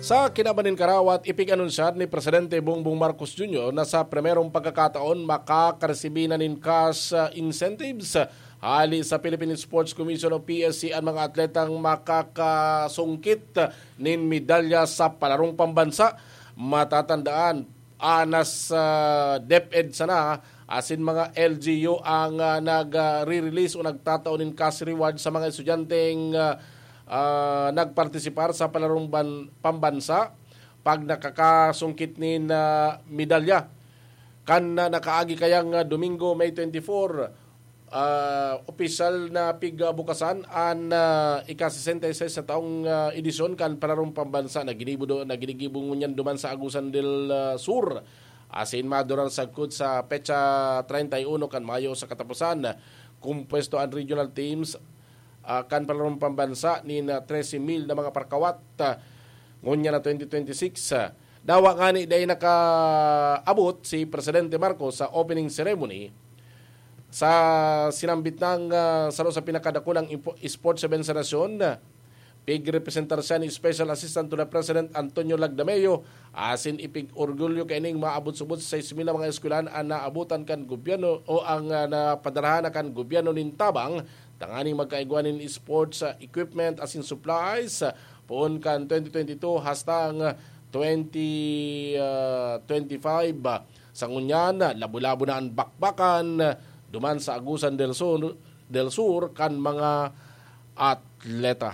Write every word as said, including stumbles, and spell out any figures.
Sa kinaban nin karawat, ipig-anunsyar ni Presidente Bongbong Marcos Junior na sa primerong pagkakataon makakaresibi na nin cash, ah, incentives hali sa Philippine Sports Commission o P S C an mga atletang makakasungkit nin medalya sa palarong pambansa. Matatandaan, anas, ah, DepEd sana asin mga L G U ang, ah, nag, ah, re-release o nagtatao nin cash reward sa mga estudyanteng, ah, ah, nagpartisipar sa palarong ban-, pambansa pag nakakasungkit nin, ah, medalya. Kan, ah, nakaagi kayang, ah, Domingo, May twenty-four, ah, opisyal na pigbukasan an, ah, ika-sesenta y seis na taong, ah, edisyon kan Palarong Pambansa na ginibo do-, na ginigibo ngunyan duman sa Agusan del, ah, Sur. Asin madurar sagkod sa petsa treinta y uno kan Mayo sa kataposan. Kumpuesto an regional teams, ah, kan Palarong Pambansa nin, ah, trese mil na mga parkawat, ah, ngunyan na twenty twenty-six. Ah, dawa ngani dai nakaabot si Presidente Marcos sa opening ceremony sa sinambit nang, ah, saro sa pinakadakulang impo-, sports event sa nasyon. Pigrepresentar siya ni Special Assistant to the President Antonio Lagdameo, asin ipig-orgulyo kaining maabot subot sa sais mil na mga eskwelahan an naabotan kan gobyerno o ang, ah, napadarahan na kan gobyerno nin tabang tanganing magkaigwa nin sports, ah, equipment asin supplies, ah, poon kan twenty twenty-two hasta ang twenty, ah, twenty-five. Sa ngunyan, labo-labo na an bakbakan duman sa Agusan del Sur, del Sur kan mga atleta.